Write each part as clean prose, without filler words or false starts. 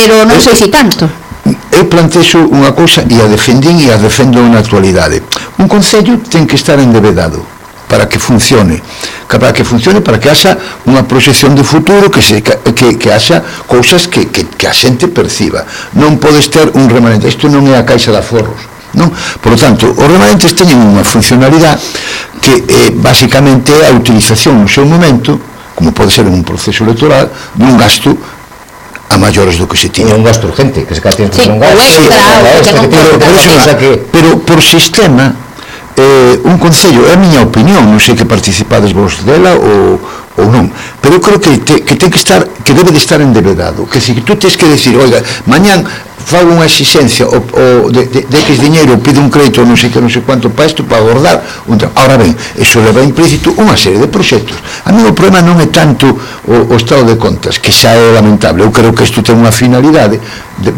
pero non sei se tanto. Eu plantexo unha cousa e a defendín e a defendo na actualidade. Un concello ten que estar endebedado para que funcione, para que haxa unha proxección de futuro, que haxa cousas que a xente perciba. Non podes ter un remanente, isto non é a caixa de aforros, non? Por lo tanto, os remanentes teñen unha funcionalidade que basicamente é a utilización no seu momento, como pode ser en un proceso electoral, dun gasto a maiores do que se tiña. Un gasto urgente, que se catén un gasto extra, pero por sistema, un concello, é a miña opinión, non sei que participades vos dela ou non, pero eu creo que ten que estar, que debe de estar endebedado, que se tú tens que decir, oiga, mañán fago unha exigencia de X diñeiro, pido un crédito non sei quanto para isto, para abordar ahora ben, eso leva implícito unha serie de proxectos. A mí o problema non é tanto o estado de contas, que xa é lamentable. Eu creo que isto ten unha finalidade,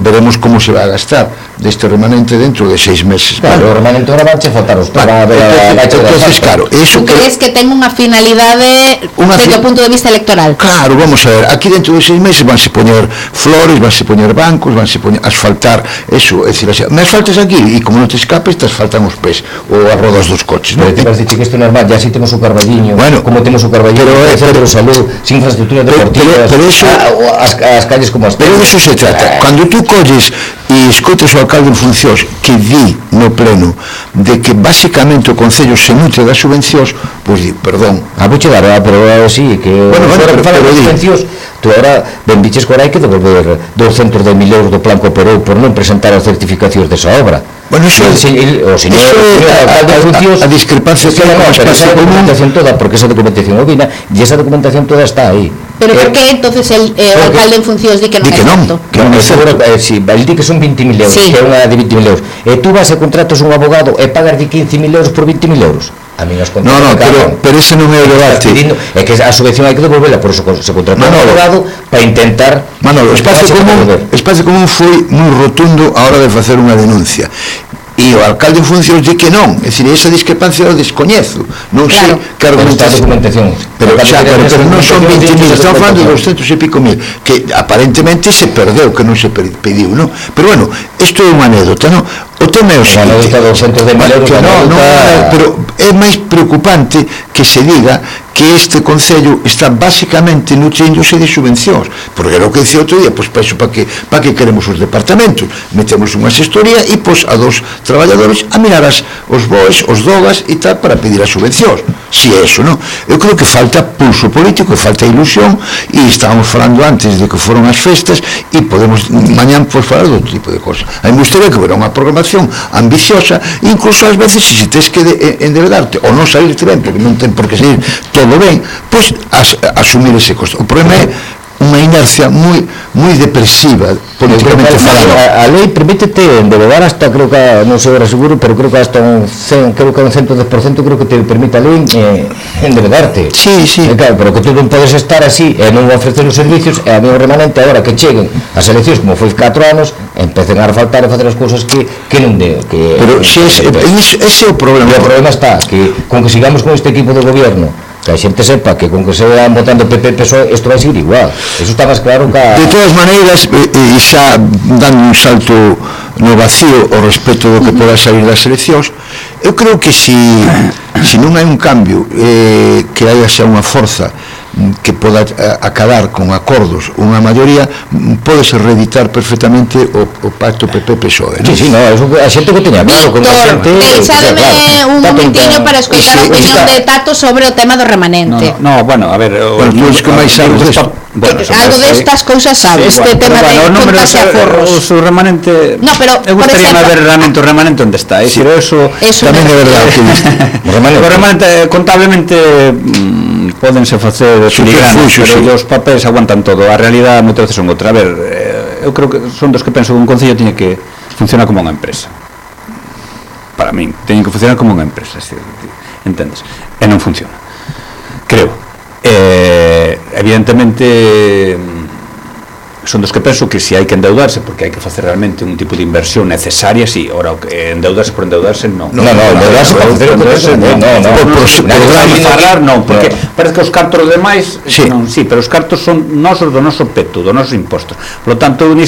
veremos como se vai a gastar deste remanente dentro de 6 meses. Claro, o remanente ahora vanche faltar os para entonces, claro, eso tú crees que ten unha finalidade desde o punto de vista electoral? Claro, vamos a ver, aquí dentro de 6 meses vanse poñer flores, vanse poñer bancos, vanse poñer asfaltar, eso, é dicir, me asfaltas aquí e como non te escapes, te asfaltan os pés ou as rodas dos coches, non? Pero te vas dicir que isto é normal, ya si temos o Carballiño, bueno, como temos o Carballiño, centro de salud, sin infraestructura deportiva, as calles como as pero eso se trata, cando tú colles e escoitas o alcalde en funcións que di no pleno de que basicamente o Concello se nutre das subvencións, pois di, perdón, vouche dar, pero sí, que pero subvencións, tú ahora ben diches que hai que devolver 210.000 euros do plan que operou por non presentar as certificacións desa obra. Bueno, eso o señor alcalde de funcións, a discrepancia que hai con esa documentación toda, porque esa documentación opina, e esa documentación toda está aí. Pero por que entonces o alcalde en funcións di que non é certo? Que non é certo. El di que son 20.000 euros, que é unha de 20.000 euros. E tú vas e contratas un abogado e pagas de 15.000 euros por 20.000 euros. A mí nos contratan. No, pero ese non é o debate. É que a subvención hai que devolverla, por eso se contrata un abogado para intentar. Manolo, Espacio Común foi moi rotundo a hora de facer unha denuncia. E o alcalde en funcións di que non, é dicir, esa discrepancia o descoñezo, non sei que argumentación, pero non son 20.000, estamos falando de 200 e pico mil, que aparentemente se perdeu, que non se pediu, non? Pero bueno, isto é unha anécdota, non? O tema é o seguinte, pero é máis preocupante que se diga que este Concello está basicamente nutríndose de subvencións, porque era o que dicía outro día, pois para que queremos os departamentos, metemos unha xestoría e pois a dos traballadores a mirar os BOEs, os DOGAs e tal para pedir as subvencións, si é eso, non? Eu creo que falta pulso político, falta ilusión, e estábamos falando antes de que foron as festas e podemos mañán pois falar de outro tipo de cosas. A mí me gustaría que hubiera unha programación ambiciosa, incluso ás veces se tens que endebedarte ou non salirte ben, porque non ten por que salir todo ben, pois asumir ese costo. O problema é unha inercia moi depresiva políticamente falando. A lei permítete endebedar hasta, creo que, non sei agora seguro, pero creo que hasta un 110%, creo que te permite a lei endebedarte. Sí. Claro, pero que tú non podes estar así e non ofrecer os servicios, e a mí o remanente agora que cheguen as eleccións, como foi 4 anos, empecen a faltar e facer as cousas que non deo. Pero ese é o problema. O problema está que con que sigamos con este equipo de gobierno, que a xente sepa que con que se van votando PP e PSOE isto vai seguir igual, eso está máis claro que de todas maneiras, e xa dando un salto no vacío ao respecto do que poda salir das eleccións, eu creo que se non hai un cambio, que hai xa unha forza que poda acabar con acordos unha maioría, podese reeditar perfectamente o pacto PP-PSOE. Sí, no, a xente que teña claro, con a xente. Deixademe un momentiño para escoitar a opinión de Tato sobre o tema do remanente. No, bueno, a ver, algo destas cousas sabes, este tema de contas e aforros. O remanente. No, pero eu gustaría ver realmente o remanente onde está, pero eso tamén é verdade que o remanente contablemente pódense facer filigranas, pero os papéis aguantan todo, a realidade moitas veces son outra. A ver, eu creo que son dos que penso que un concello tiñe que funcionar como unha empresa. Para min, teñen que funcionar como unha empresa, entendes? E non funciona, creo. Evidentemente son dos que penso que se hai que endeudarse porque hai que facer realmente un tipo de inversión necesaria, si, ora endeudarse por endeudarse, non. Endeudarse por facer non, porque parece que os cartos demais non, sí, pero os cartos son nosos do noso peto, do nosos impostos. Por lo tanto,